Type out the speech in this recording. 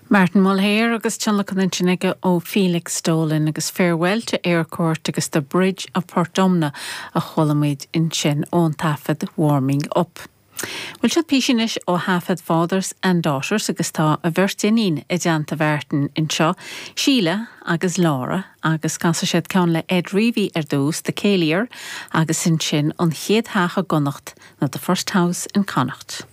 Martin Mulhare agus tionlacan ansin aige ó Felix Dolan agus Farewell to Eyrecourt agus The Bridge of Portumna a chuala muid ansin ón taifead Warming Up. Bhuel seo píosa anois ó thaifead Fathers and Daughters agus tá a bheirt iníon i dteannta Mhartin anseo, Síle agus Laura agus casfaidh siad ceann le Ed Reavy ar dtús, The Céilí-Er agus ansin An Chéad Theach i gConnacht nó The First House in Connacht.